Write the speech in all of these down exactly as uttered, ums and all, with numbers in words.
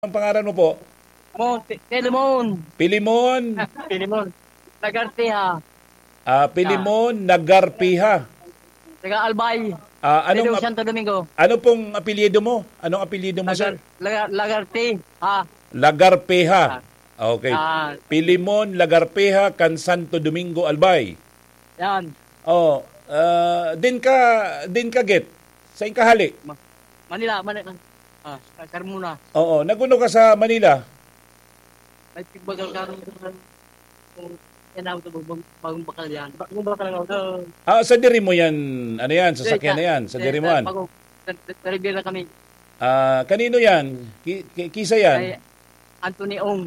Ang pangalan mo po? Mo, Pi-, Pilimon. Pilimon. Pilimon. Lagartiha. Ah, Pilimon Nagarpiha. Taga Albay. Ah, anong Pedro ap-, Santo Domingo. Ano pong apelyido mo? Anong apelyido mo, Lagar-, sir? Lagar-, Lagartiha. Lagarpeha. Ah. Okay. Ah. Pilimon Lagarpeha kan Santo Domingo, Albay. Yan. Oh, ah, din ka, din ka, Git? Sa Inkahali? Ma-, Manila, Manila. Ah, sa Carmona. Oo, naguno ka sa Manila? May pigbagal ka rin kung yan ako sa bagong, bagong bakal yan. Bagong bakal ako. Oo. Ah, sa diri mo yan, ano yan, sasakyan na yan, sa diri mo yan? Bagong, sa, sa, sa Rivera kami. Ah, kanino yan? Ki-, ki-, kisa yan? Kay Anthony Ong.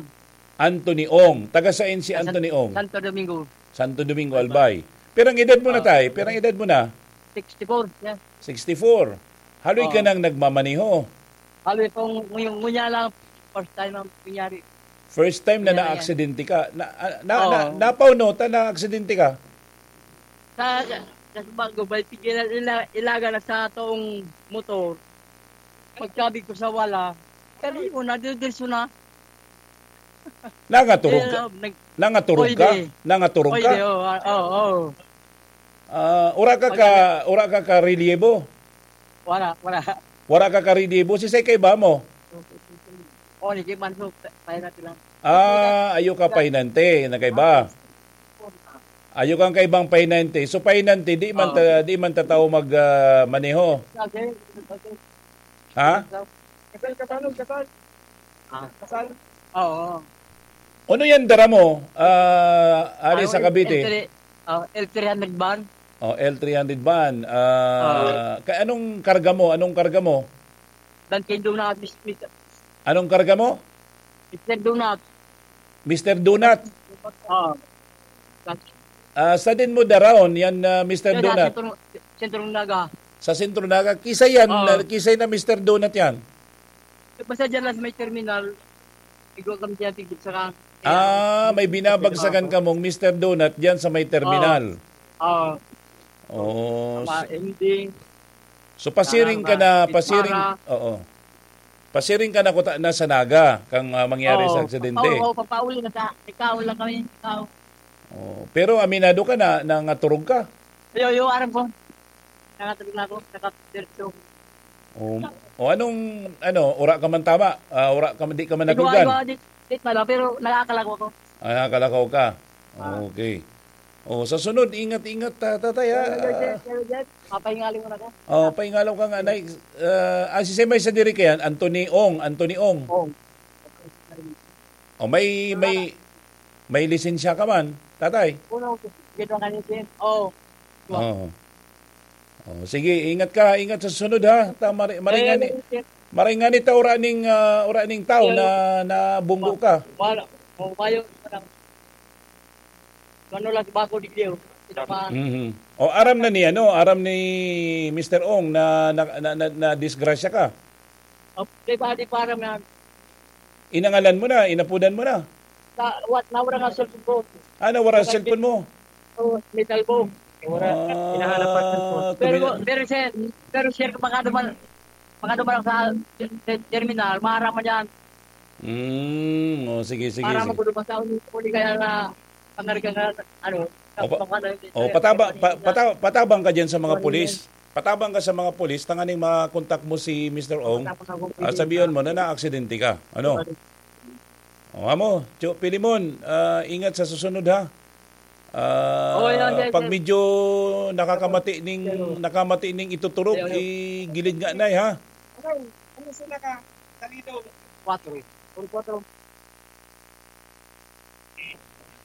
Anthony Ong. Taga saan si Sa San-, Anthony Ong? Santo Domingo. Santo Domingo, Albay. Albay. Pero ang edad mo na, Ah. tay? Pero ang edad mo na? Sixty-four, yeah. Sixty-four. Haloy ka Oo. nang nagmamaneho. Haloy kong ngunyan, ngunyan lang, first time ang nangyari. First time na Kaya yan. naaksidente ka. Na, ah, na, Oo. na, napauno ta na aksidente ka? Sa, sa bago, may tigil ila-, ilaga na sa toong motor. Pagkabig ko sa wala, kali mo na, diretso na. Nangaturog ka? Eh, nag-, Nangaturog ka? Pwede. Nangaturog ka? Pwede, oo, ah, oo, oo. Ah, ura ka Pag ka, ura ka ka reliebo? Wala, wala. Wala ka ka reliebo? Si Sekay ba mo? Oo, ni Kim Manso, pa-, pahinante lang. Ah, ayo ka pahinante, na kaiba. Ayo kang kaibang pahinante. So, pahinante, di man Oo. ta-, di man ta tao mag, ah, maneho. Okay, okay. Ha? Kasal ka ba, Lord? Kasal? Ah. Kasal? Oo. Ano yan dara mo, ah, ari Ah, sa L-, Cavite? L three, ah, L three hundred van. Oh, L three hundred van. Ah, Oo. ka-, anong karga mo? Anong karga mo? Dunkin Donuts, Mister. Anong karga mo? Mister Donut. Mister Donut. Oo. Ah, sa din mo daraon yan, ah, Mister Yan, Donut? Sentro, Sentro Naga. Sa Sentro Naga. Kisa yan, Oo. na, kisa na Mister Donut yan? Basta dyan lang sa may terminal, igwa kami dyan, tigil sa kan-, Ah, may binabagsakan Oo. kamong Mister Donut dyan sa may terminal. Oo. Oo. Oh, Tama, s-, ending. So, pasiring ka Tama, na, Miss pasiring, Mara. oo. Pasiring ka na kuta na sa Naga kang, ah, mangyari sa Oo, aksidente. papa-, oo, papauli na sa, ikaw lang kami, ikaw. Oo. Pero aminado ka na, na naturog ka? Yo, yo, aram ko. Nangaturog na ako, nakapirso. O, o anong, ano, ura ka man tama? Ah, ura ka man, di ka man Igwa, nadugan? igwa, di, di pala, pero nakakalako ako. Ah, nakalakaw ka. Ah. Okay. O, sa sunod, ingat-ingat, ta-, tatay, ah. Pero, Jet, pero, Jet, papahingali mo na ka. O, paingalaw ka nga, Nay. Ah, ah, si Semay sa diri kayan, Anthony Ong, Anthony Ong. Ong. O, may, may, may lisensya ka man, tatay? Uno, gito nga ni Sim. Oh. Oo. Oh, sige, ingat ka, ingat sa sunod, ha. Ta-, mari-, maringani, Eh, maringani ta ura ning, ah, ura ning tao Ayun. na, na bunggo ka. Wala. Oh, mayo. Ano lang, bako di Diyo. Sila pa. Mhm. O, aram na ni, ano, aram ni Mister Ong na, na, na, na, na disgrasya ka? Oh, di ba, di pa aram na. Inangalan mo na, inapudan mo na? Sa, what, nawara nga cellphone ko. Ah, nawara Sa cellphone mo? Oh, metal box. Wala. Ah, Hinahanap pa cellphone. Pero, tumina- pero, sir, pero, sir, baka naman, baka naman sa, sa terminal, maharap man yan. Mm, oh, sige, sige, Para sige. Magulo pa sa uli, uli kaya na pangarga nga, ano, O, pa-, kapag ano, o, eh, pataba-, eh, pa-, pata-, patabang ka dyan sa mga Sorry, pulis. Patabang ka sa mga pulis, tanganing makontak mo si Mister Ong. Tapos ako, Ah, sabihan mo na naaksidente ka. Ano? Sorry. O, amo, Cho Pilimon, ah, ingat sa susunod, ha? Ah, Oo, yan, yan, pag yan. medyo nakakamati ning, Pero nakamati ning ituturog, Pero igilid nga, Nay, ha? Ano, ano sila ka, Salido? Quatro. Puro quatro.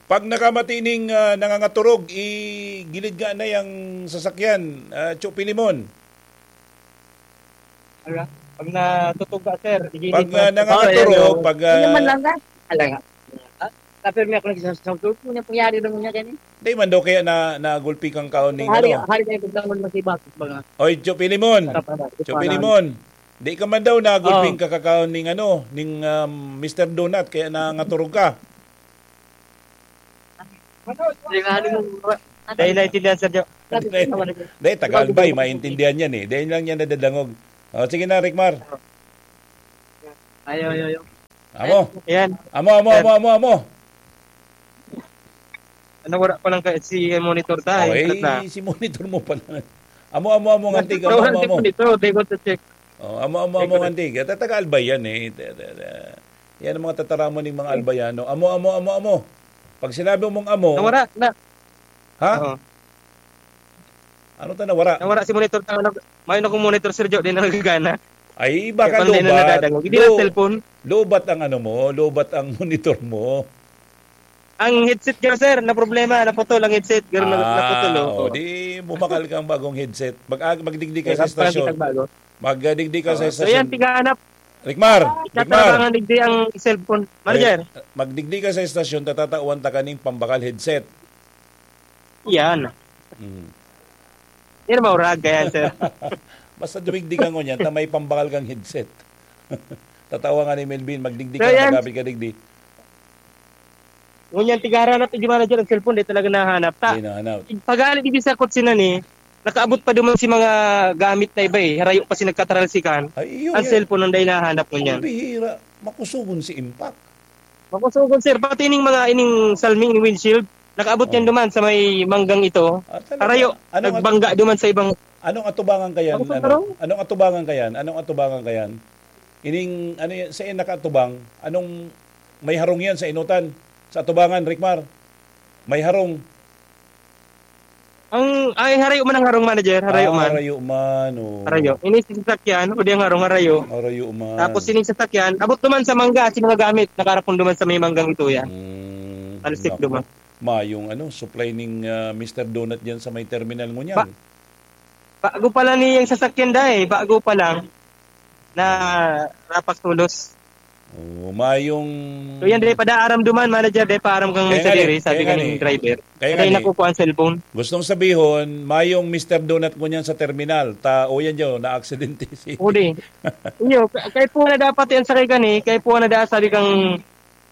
Pag nakamati ning, ah, nangangaturog, igilid nga na yang sasakyan, ah, Cho Pilimon. Ala, pag natutog ka, sir, igilid Pag, mo ah, na. nangangaturog, Oh, yan, oh. pag, Hindi naman ah, lang na. Ala nga. Ah, tapos may ako nagsasabi, "Ano yung nangyari naman niya ganyan?" Di man daw kaya na, nagulpi kang kaon ning Hari, ano? hari kayo pagtangon mo sa iba, mga Oy, Cho Pilimon. Para, para, Cho para. Pilimon. Di ka man daw nagulping Oh. kakakaon ning ano, ning, um, Mister Donut, kaya nangaturog ka. Hindi nga, ano mo, Dahil naintindihan, Sir Jo. Dahil, dahil taga Albay, maintindihan yan eh. Dahil lang yan nadadangog. O, sige na, Ricmar. Ayo, ayo, ayo. Amo. Ayan. Amo, amo, Ayan. amo, amo, amo. Ano, wala pa lang kay si monitor ta, Oh, eh, eh, alat na. si monitor mo pala. Amo, amo, amo, ngantig, amo, Wala amo, si amo. monitor, they want to check. Oh, amo, amo, amo, Ikaw. ngantig. Tataga Albay yan, eh. Ta-, ta-, ta-, yan ang mga tataramon ng mga Albayano. Amo, amo, amo, amo. Pag sinabi mong amo, Nawara na. Ha? Oo. Ano ta nawara? Nawara si monitor ta, ano, may na kong monitor, Sir Joe, di na nagagana. Ay, baka Kaya pala di na lobat. nadadangog. Hindi na Lo-, cellphone. lobat ang ano mo, lobat ang monitor mo. Ang headset ko, sir, na problema, naputol ang headset. Ganun na, Ah, naputol, oh. oh, di bumakal kang bagong headset. Mag-, ah, magdigdi ka Eh, sa parang istasyon. kitang bago. Magdigdi ka sa Oh, so istasyon. yan, tigahanap. Rikmar, Rikmar. Tatabangan digdi ang cellphone. Manager. Ay, magdigdi ka sa istasyon, tatatawan ta kaning pambakal headset. Yan. Mm. Yan, maurag ka yan, sir. Basta dumigdi ka ngunyan, ta may pambakal kang headset. Tatawa nga ni Melvin, magdigdi So, ka, yan. magapit ka digdi. Ngunyan, tigaharanap, di manager, ang cellphone, di talaga nahanap. Ta, Di nahanap. pagali, di sa kutsi na ni, nakaabot pa duman si mga gamit na iba eh. Harayo pa si nagkatralsikan. Ay, iyo, Ang iyo. cellphone, ang dahil nahanap ngunyan. Ang bihira, makusugon si Impact. Makusugon, sir. Pati ining mga, ining salming, ining windshield, nakaabot yan Oh. duman sa may manggang ito. Ah, talaga? Harayo, Anong at-, nagbangga duman sa ibang anong atubangan kayan? Ano, Ano? sir? Anong atubangan kayan? Anong atubangan kayan? Ining, ano yan, sa nakaatubang? Anong may harong yan sa inutan? Sa atubangan, Rikmar? May harong. Ang, ay, harayo man ang harong, manager. Harayo Ah, man. harayo man, oh. Harayo. Ini si sasakyan, o di ang harong, harayo. Harayo man. Tapos ining sasakyan, abot duman sa mangga, si mga gamit, nakarapon duman sa may manggang ito yan. Mm, Talsik naku. duman. Mayong ano, supply ning, ah, Mister Donut dyan sa may terminal ngunyan. Ba-, bago pa lang niyang sasakyan, day. Bago pa lang. Na rapak tulos. Oh, mayong So, yan, dai pa daaram duman, manager, dai pa aram kang Kaya sa nga diri, eh, sabi kaya nga kaning eh. driver. Kaya Kaya nga eh. nakukuha ang cellphone. Gustong sabihon, mayong Mister Donut ngunyan sa terminal. Ta, o yan dyan, na-aksidente si Uli. Iyo, ka-, kaya po na dapat yan sa kay gani, kaya po na dapat sabi kang,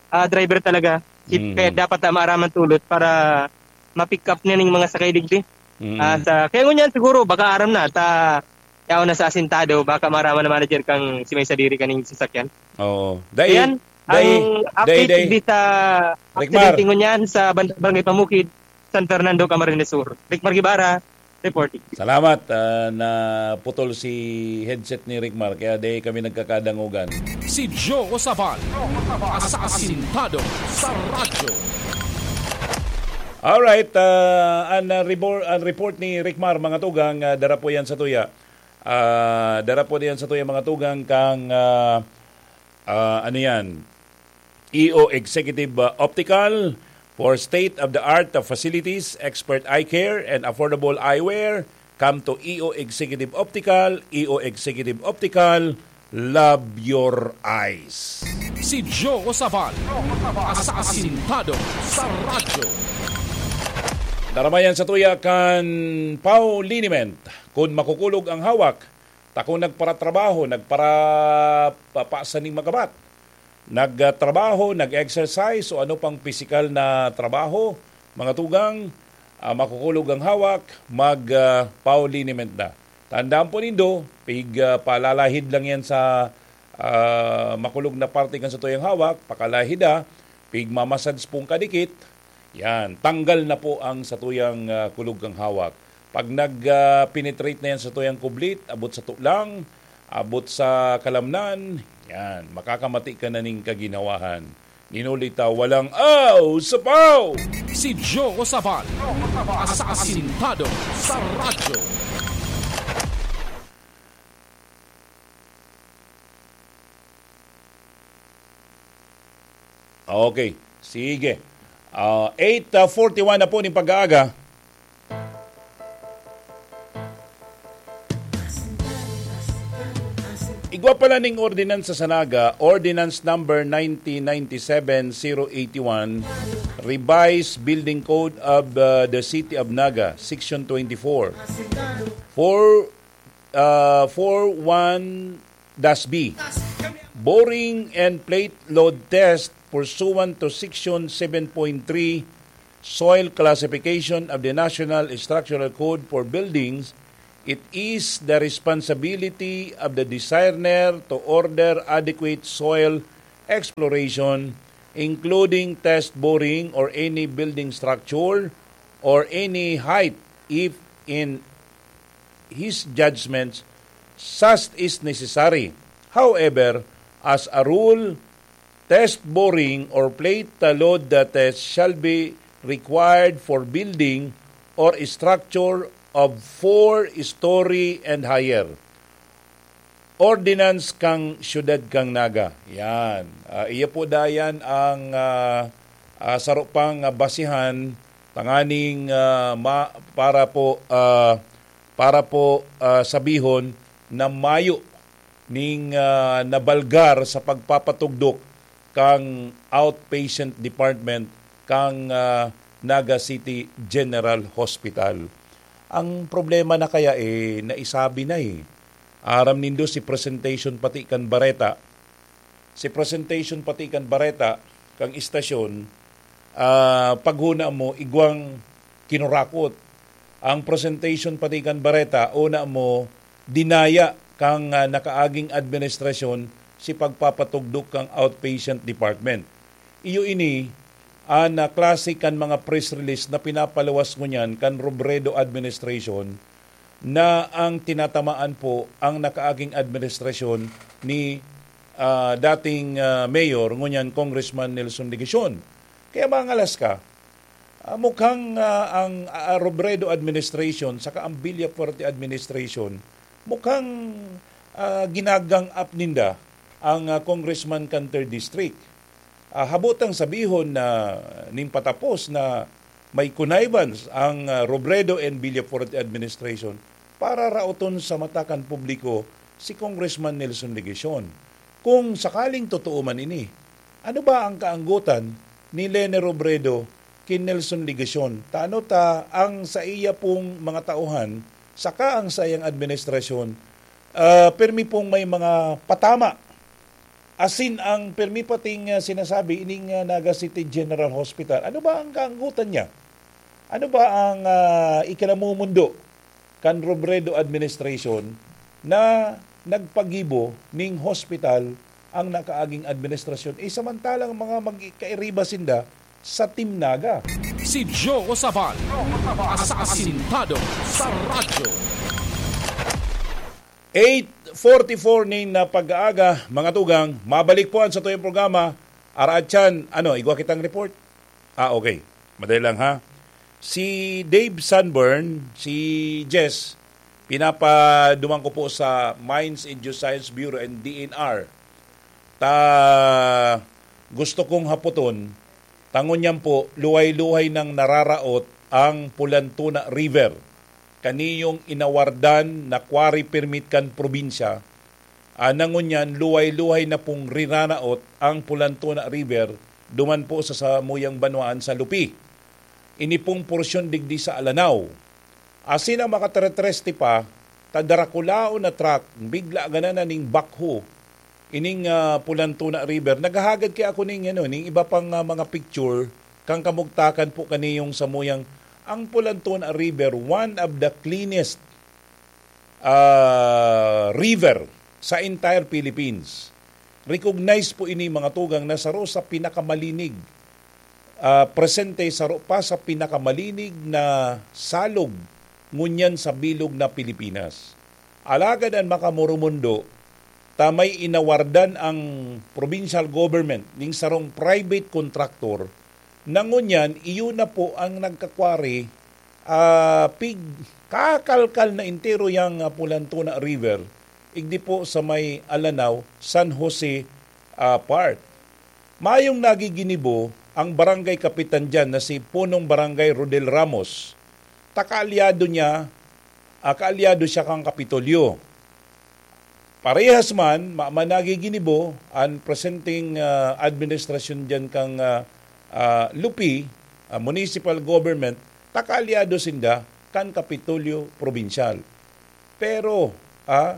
ah, driver talaga. Si-, Mm. kaya dapat na maaraman tulot para ma-pick up niya ning mga sakay digdi. Mm. Ah, sa, kaya ngunyan siguro, baka aram na, ta, yaon na sa asintado, baka marama na manager kang si may sadiri kaning sasakyan. Oo. Dai, Ayan, dai, ang update dai, dai. di sa Rikmar. aksidente ngunyan sa Ban-, Barangay Pamukid, San Fernando, Camarines Sur. Rikmar Guevara, reporting. Salamat, ah, naputol si headset ni Rikmar, kaya dai kami nagkakadangogan. Si Joe Sabal, sa asintado sa radyo. Alright, ah, an, ah, rebor-, an report ni Rikmar, mga tugang, ah, dara po yan sa tuya. Ah, dara po yan sa tuya, mga tugang, kang, ah, ah, ano yan? E O Executive, ah, Optical for state-of-the-art facilities, expert eye care, and affordable eyewear. Come to E O Executive Optical, E O Executive Optical, love your eyes. Si Joe Sabal, sa asintado sa radyo. Daramayan sa tuya kan Pau Liniment, kun makukulog ang hawak, ta kun nagparatrabaho, nagpara-, pa-, pasa ning magabat, nagtrabaho, nag-exercise o ano pang pisikal na trabaho, mga tugang, ah, makukulog ang hawak, mag, ah, Pau Liniment na. Tandaan po nindo, pig, ah, palalahid lang yan sa, ah, makulog na parte kan sa tuyang hawak, pakalahid, ah, pig mamasad pong kadikit, yan, tanggal na po ang satuyang, ah, kulog kang hawak. Pag nag, ah, penetrate na yan sa tuyang kublit, abot sa tulang, abot sa kalamnan, yan, makakamati ka na ning kaginawahan. Ninulita, walang aw sa Pau! Si Joe Sabal, sa asintado sa radyo. Okay, sige. Ah, eight forty-one na po ning pag-aaga. Igwa pala ning ordinansa sa Naga, Ordinance Number nineteen ninety-seven zero eighty-one, Revised Building Code of, uh, the City of Naga, Section twenty-four. Four, uh, four one dash B. Boring and plate load test pursuant to Section seven point three, Soil Classification of the National Structural Code for Buildings, it is the responsibility of the designer to order adequate soil exploration, including test boring or any building structure or any height, if in his judgments such is necessary. However, as a rule, test boring or plate load test shall be required for building or structure of four-story and higher. Ordinance kan Siyudad kan Naga. Yan. Ah, iya po dayan ang, ah, ah, saro pang, ah, basihan tanganing, ah, ma-, para po, ah, para po, ah, sabihon na mayo ning, ah, nabalgar sa pagpapatugdok kan outpatient department kan, ah, Naga City General Hospital. Ang problema na kaya, eh, naisabi na, eh. Aram nindo si presentation pati kan bareta. Si presentation pati kan bareta, kan istasyon, ah, paghuna mo, igwang kinurakot. Ang presentation pati kan bareta, una mo, dinaya kan, ah, nakaaging administrasyon si pagpapatugdok kan outpatient department. Iyo ini, an, ah, klase kan mga press release na pinapaluwas ngunyan kan Robredo administration na ang tinatamaan po ang nakaaging administrasyon ni, ah, dating, ah, mayor, ngunyan Congressman Nelson Legacion. Kaya mangalas ka, ah, mukhang, ah, ang, ah, Robredo administration saka ang Villafuerte administration, mukhang, ah, ginagang up ninda ang, ah, congressman kan third district. Ah, habotang sabihon na nin patapos na may connivance ang, ah, Robredo and Villafuerte administration para raoton sa mata kan publiko si Congressman Nelson Legacion. Kung sakaling totoo man ini, ano ba ang kaanggotan ni Leni Robredo ki Nelson Legacion? Tano ta ang saiya pong mga tauhan saka ang saiyang administrasyon, ah, permi pong may mga patama. Asin ang permi pating, ah, sinasabi ining, ah, Naga City General Hospital. Ano ba ang kaanggotan niya? Ano ba ang, ah, ikinamumundo kan Robredo administration na nagpagibo ning hospital ang nakaaging administrasyon? Eh, samantalang mga magkairiba sinda sa Team Naga. Si Joe Sabal, asasintado sa radyo. Eight forty-four nin, ah, pag-aaga, mga tugang, mabalik po an satuyang programa, Araat Chan. Ano, igwa kitang report? Ah, okay. Madali lang, ha? Si Dave Sunburn, si Jess, pinapaduman ko po sa Mines and Geoscience Bureau and D N R. Ta, gusto kong hapoton, ta ngunyan po, luhay-luhay nang nararaot ang Pulantuna River. Kaniyong inawardan na quarry permit kan probinsya, ah, na ngunyan luhay-luhay na pong riraraot ang Pulantuna River duman po sa samuyang banwaan sa Lupi. Ini pong porsyon digdi sa Alanao. Asin ang makateretreste pa, ta darakulaon na truck, bigla ganan na ning backhoe, ining, ah, Pulantuna River. Naghahagad kaya ako ning, ano, ning iba pang, ah, mga picture, kan kamugtakan po kaniyong samuyang, ang Pulantuna River, one of the cleanest, ah, river sa entire Philippines. Recognize po ini, mga tugang, na saro sa pinakamalinig, ah, presente saro pa sa pinakamalinig na salog ngunyan sa bilog na Pilipinas. Alagad an makamoromundo, ta may inawardan ang provincial government ning sarong private contractor na ngunyan iyo na po ang nagkakwari, ah, pig-, kakalkal na entero yang, ah, Pulantuna River, igdi po sa may Alanao, San Jose, ah, part. Mayong nagiginibo ang barangay kapitan diyan na si Punong Barangay Rodel Ramos. Ta kaalyado niya, ah, kaalyado siya kan Kapitolyo. Parehas man, ma-, man nagiginibo an presenteng, ah, administrasyon diyan kan, ah, ah, Lupi, ah, municipal government, ta kaalyado sinda kan Kapitolyo Probinsyal. Pero, ah,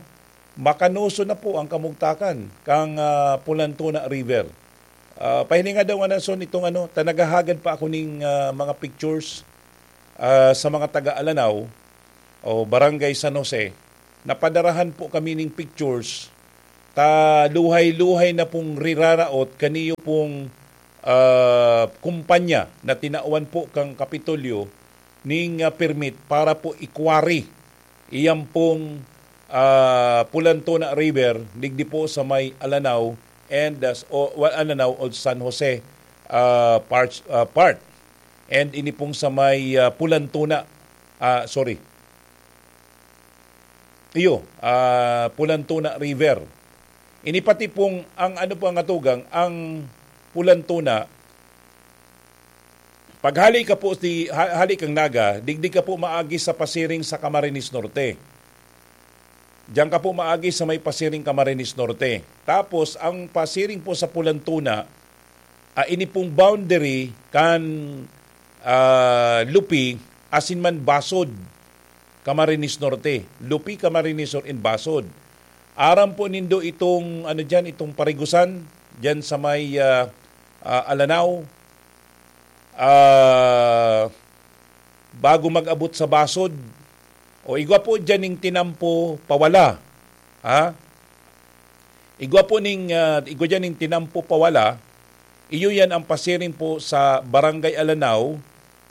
makanoso na po ang kamugtakan kan, ah, Pulantuna River. Ah, pahilinga daw nga nason itong ano, ta naghahagad pa ako ning, ah, mga pictures, ah, sa mga taga Alanao o Barangay San Jose. Napadarahan po kami ning pictures. ta luhay-luhay na pong riraraot kaniyo pong, ah, kumpanya na tinawan po kang Kapitolyo ning, ah, permit para po i-quarry iyan pong, ah, Pulantona River, digdi po sa may Alanao and, ah, s-, o, wa-, Alanao o San Jose, ah, part, ah, part. And ini pong sa may, ah, Pulantona, ah, sorry. Iyo, ah, Pulantona River. Ini pati pong, ang ano po ang atugang, ang Pulantona, paghali ka po si, ha-, hali kang Naga, digdi ka po maagi sa pasiring sa Camarines Norte. Diyan ka po maagi sa may pasiring Camarines Norte. Tapos, ang pasiring po sa Pulantona, ah, ini pong boundary kan, ah, Lupi, asin man Basod, Camarines Norte. Lupi, Camarines Sur, and Basod. Aram po nindo itong, ano diyan, itong parigusan, diyan sa may, ah, ah, Alanao. Ah, bago mag-abot sa Basod, o igwa po diyan ning tinampo pawala. Ha? Igwa po ning, ah, igwa diyan ning tinampo pawala. Iyo yan ang pasiring po sa Barangay Alanao,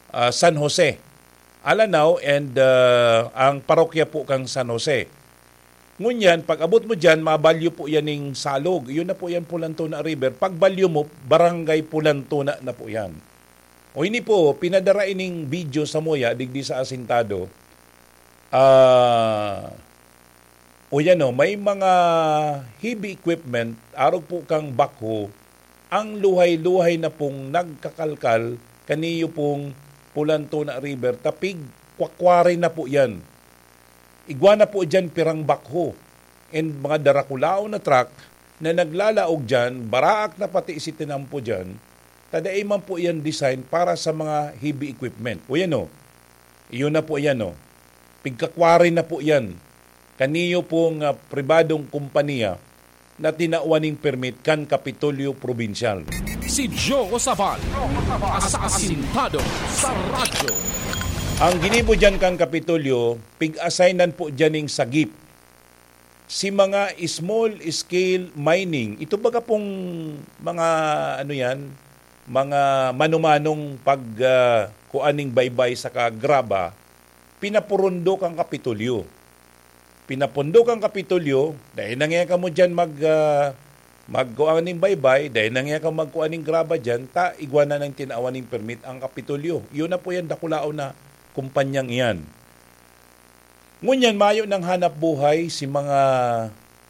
ah, San Jose. Alanao and, ah, ang parokya po kang San Jose. Ngunyan, pag-abot mo diyan, mabalyo po yan ning Salog. Iyon na po yan, Pulantona River. Pagbalyo mo, Barangay Pulantona na po yan. O ini po, pinadara ining video sa muya, digdi sa Asintado. Ah, o yan o, may mga heavy equipment, arog po kang backhoe, ang luhay-luhay na pong nagkakalkal, kaniyo pong Pulantona River, tapig kwakwari na po yan. Igwa na po diyan pirang backhoe and mga darakulaon na truck na naglalaog diyan, baraak na pati si tinampo diyan, ta dai man po iyan design para sa mga heavy equipment. O yan o, iyon na po yan o. Pigkakwari na po yan. Kaniyo pong, ah, pribadong kompanya na tinawan ning permit kan Kapitolyo Probinsyal. Si Joe Sabal, sa Asintado sa Radyo. Ang ginibo diyan kan Kapitolyo, pig-assignan po diyan ning sagip. Si mga small scale mining, ito baga pong mga, ano yan, mga manumanong pag, ah, kuan ning baybay saka graba, pinapurundo kan Kapitolyo. Pinapurundo kan Kapitolyo, dai na ngaya kamo diyan mag, ah, magkuan ning baybay, dai na ngaya kamo magkuan ning graba diyan, ta igwa na nang tinawan ning permit ang Kapitolyo. Iyon na po yan, dakulaon na kumpanyang iyan. Ngunyan, mayo nang hanap buhay si mga,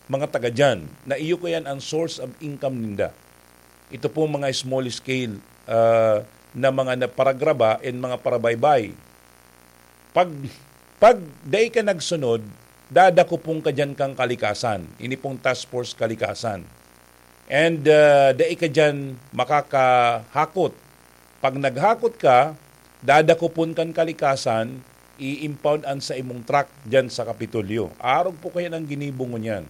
mga taga diyan, na iyo kaya an source of income ninda. Ito pong mga small scale, ah, na mga na paragraba and mga parabaybay. Pag, pag dai ka nagsunod, dadakopon ka diyan kan kalikasan. Ini pong task force kalikasan. And, ah, dai ka diyan makakahakot. Pag naghakot ka, dadakopon kan kalikasan, i-impound an sa imong truck diyan sa Kapitolyo. Arog po kaya nang ginibo ngunyan.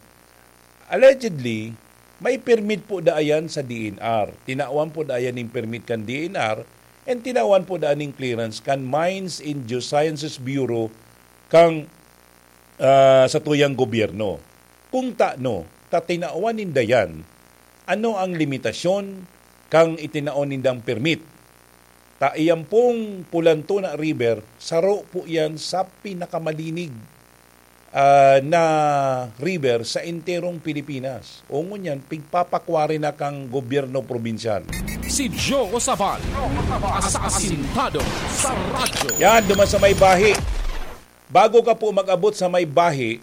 Allegedly, may permit po daa yan sa D N R. Tinawan po daa yan ning permit kan D N R and tinawan po daa ning clearance kan Mines and Geosciences Bureau kang, ah, satuyang gobyerno. Kung tano ta tinawan ninda yan, ano ang limitasyon kan itinaon nindang permit? Ta iyan pong Pulantona River, saro po yan sa pinakamalinig, ah, na river sa enterong Pilipinas. O ngunyan, pigpapakwari na kang gobyerno probinsyal. Si Joe Sabal, sa Asintado sa Radyo. Yan, duman sa may Bahi. Bago ka po mag-abot sa may Bahi,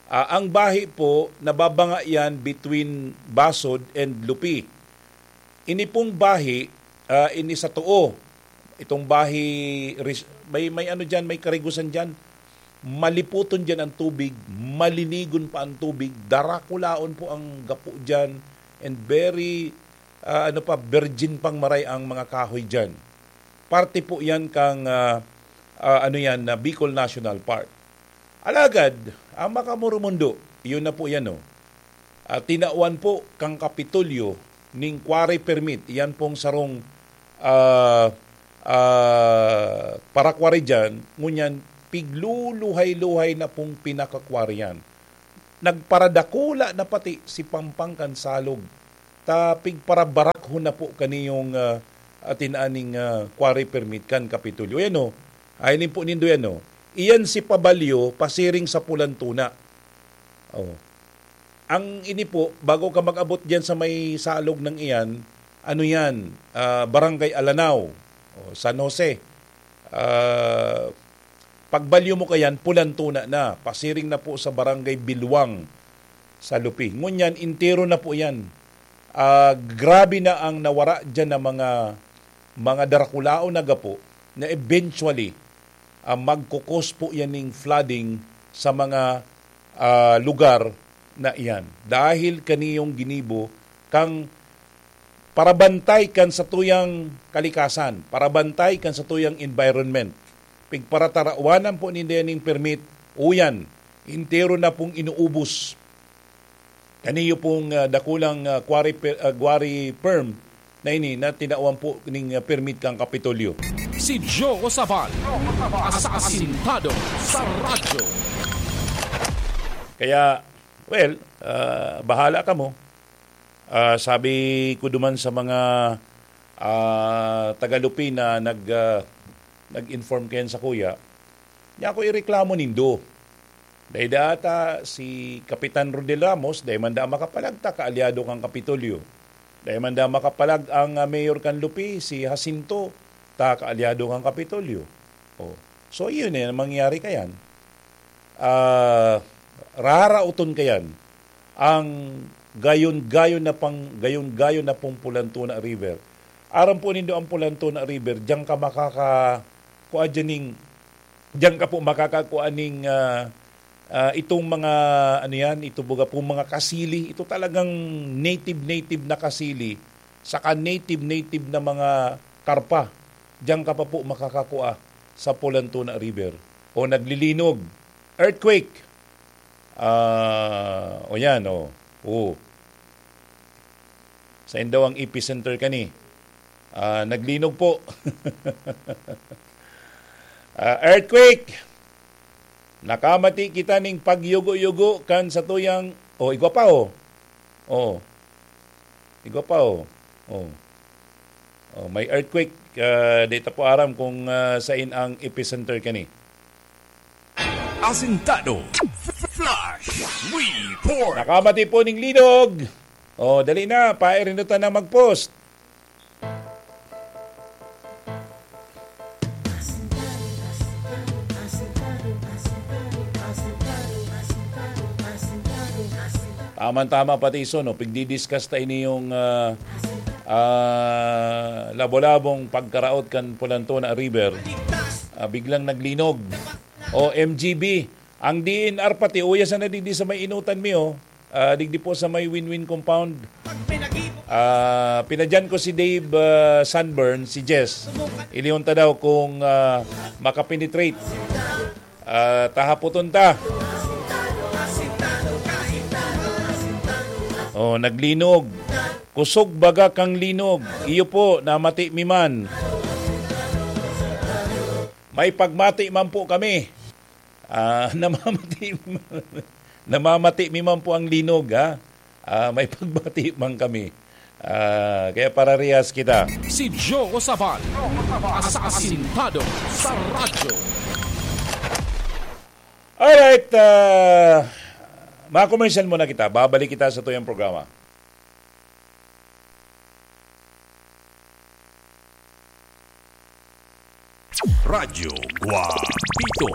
ah, ang Bahi po, nababanga yan between Basod and Lupi. Ini pong Bahi, ah, ini sa Too. Itong Bahi, ris-, may, may ano diyan, may karigusan diyan. Maliputon diyan ang tubig, malinigon pa ang tubig, darakulaon po ang gapo diyan, and very, ah, ano pa, virgin pang maray ang mga kahoy diyan. Parte po yan kang, ah, ah, ano yan, na Bicol National Park. Alagad, ang Makamurumondo, iyon na po yan, oh. Ah, tinawan po kang Kapitolyo ning quarry permit, iyan pong sarong, ah, ah, parakwari diyan, ngunyan pigluluhay-luhay na pong pinakakwari yan. Nagparadakula na pati si Pampang kan salog, ta pigparabarakhon na po kaniyong, ah, atin aning, ah, quarry permit kan Kapitolyo. Ayan, oh. Ay, po nindo yan, oh. Iyan si Pabalyo, pasiring sa Pulan Tuna. Oh. Ang ini po, bago ka mag-abot diyan sa may salog ng iyan, ano yan, ah, Barangay Alanao, oh, San Jose. Ah, pagbalyo mo kayan, Pulan Tuna na, pasiring na po sa Barangay Bilwang sa Lupi. Ngunyan, entero na po yan. Ah, grabe na ang nawara diyan na mga, mga darakulaon na gapo na eventually, ah, magkukos po yan ning flooding sa mga, ah, lugar na iyan. Dahil kaniyong ginibo kang parabantay kan satuyang kalikasan, parabantay kan satuyang environment. Pigparatarawanan po ninda ning permit, uyan, entero na pong inuubos. Kaniyo pong, ah, dakulang, ah, quarry per-, ah, quarry firm na ini na tinawan po ning, ah, permit kang Kapitolyo. Si Joe Sabal, asasintado sa radyo. Kaya, well, ah, bahala kamo. Ah, sabi ko duman sa mga, ah, taga-Lupi na nag-, ah, nag-inform kayan sa kuya, niya ako ireklamo nindo. Dai ata si Kapitan Rodel Ramos, dai man da makapalag ta kaalyado kan Kapitolyo. Dai man da makapalag ang, ah, mayor kan Lupi, si Jacinto, ta kaalyado kan Kapitolyo. Oh. So, yun eh, ang mangyayari kayan. Ah, raraoton kayan ang gayon-gayon na pang-, gayon-gayon na pong Pulan Tuna River. Aram po nindo ang Pulan Tuna River, diyan ka makaka-, kua dyan ning, diyan ka po makakakua ning, ah, ah, itong mga, ano yan, ito baga po mga kasili, ito talagang native-native na kasili, saka native-native na mga karpa. Diyan ka pa po makakakua sa Pulan Tuna River. O naglilinog, earthquake. Ah, o yan, o. O. Sain daw ang epicenter kani? Ah, naglinog po. Ah, earthquake. Nakamati kita ning pagyugo-yugo kan satuyang, o, igwa pa, o. O. Igwa pa, o. O. O, may earthquake. Ah, di ta po aram kung, ah, sain ang epicenter kani. Asintado. Flash Report. Nakamati po ning linog. O, dali na, pairinutan na mag-post. Tama-tama pati iso, no? Pigdi-discuss ta ini yung, ah, ah, labo-labong pagkaraot kan Pulan Tuna River. Ah, biglang naglinog. O M G B, ang D N R pati, uya sana digdi sa may inutan mi, oh. Ah, digdi po sa may Win-Win Compound. Ah, pinadyan ko si Dave, ah, Sunburn, si Jess. Ilihon ta daw kung, ah, makapenetrate. Ah, tahapoton ta. Oh, naglinog. Kusog baga kang linog. Iyo po, namati mi man. May pagmati man po kami. Ah, namamati, namamati mi man po ang linog, ha? Ah, may pagmati man kami. Ah, kaya pararehas kita. Si Joe Sabal, asasintado sa radyo. Alright, ah, mga commercial muna kita. Babalik kita sa tuyang programa. Radyo Guapito.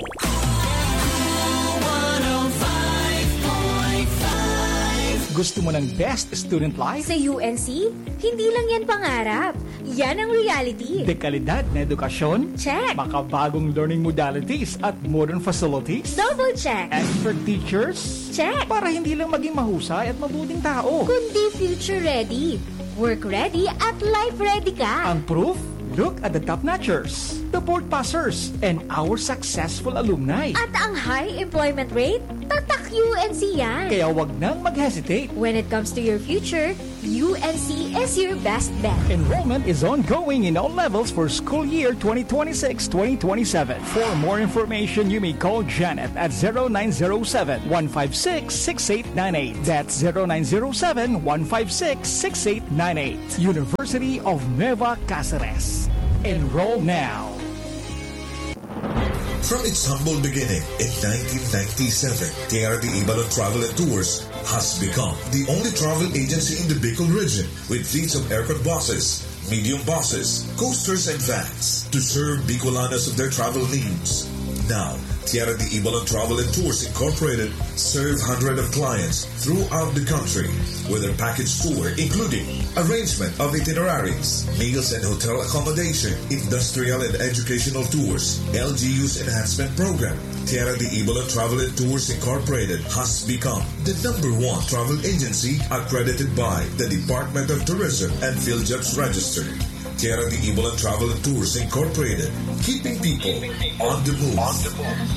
Gusto mo ng best student life? Sa U N C, hindi lang yan pangarap. Yan ang reality. Dekalidad na edukasyon? Check. Makabagong learning modalities at modern facilities? Double check. Expert teachers? Check. Para hindi lang maging mahusay at mabuting tao. Kundi future ready, work ready at life ready ka. Ang proof? Look at the top notchers, the board passers, and our successful alumni. At ang high employment rate? Tatak U N C yan. Kaya wag nang mag-hesitate. When it comes to your future, U N C is your best bet. Enrollment is ongoing in all levels for school year twenty twenty-six twenty twenty-seven. For more information, you may call Janet at zero nine zero seven, one five six, six eight nine eight. That's zero nine zero seven, one five six, six eight nine eight. University of Nueva Caceres. Enroll now. From its humble beginning in nineteen ninety-seven, Tierra de Ibalon Travel and Tours has become the only travel agency in the Bicol region with fleets of aircon buses, medium buses, coasters, and vans to serve Bicolanos of their travel needs. Now, Tierra de Ibalon Travel and Tours Incorporated serve hundreds of clients throughout the country with a package tour including arrangement of itineraries, meals and hotel accommodation, industrial and educational tours, L G U's enhancement program. Tierra de Ibalon Travel and Tours Incorporated has become the number one travel agency accredited by the Department of Tourism and PhilJobs Register. Tierra de Ibalon Travel and Tours Incorporated, keeping people on the move.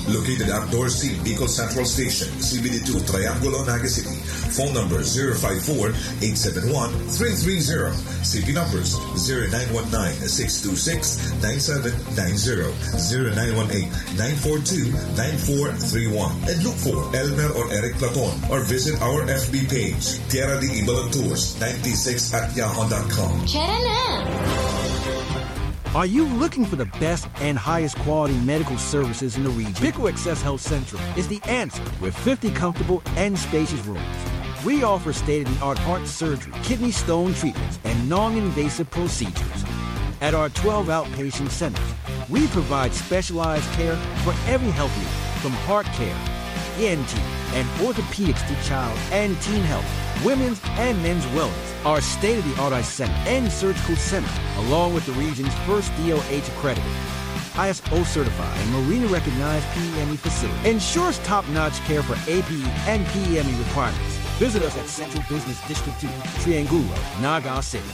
Located at Dorothy, Bicol Central Station, C B D two, Triangulo, Naga City. Phone number zero five four, eight seven one, three three zero. C P numbers zero nine one nine, six two six, nine seven nine zero, zero nine one eight, nine four two, nine four three one. And look for Elmer or Eric Platon or visit our F B page, Tierra de Ibalon Tours ninety-six at yahoo dot com. Tara na! Are you looking for the best and highest quality medical services in the region? Bicol Access Health Central is the answer with fifty comfortable and spacious rooms. We offer state-of-the-art heart surgery, kidney stone treatments, and non-invasive procedures. At our twelve outpatient centers, we provide specialized care for every health need, from heart care, E N T, and orthopedics to child and teen health, women's and men's wellness. Our state-of-the-art eye center and surgical center, along with the region's first D O H accredited, I S O certified, and Marina recognized P M E facility, ensures top-notch care for A P E and P M E requirements. Visit us at Central Business District two, Triangulo, Naga City.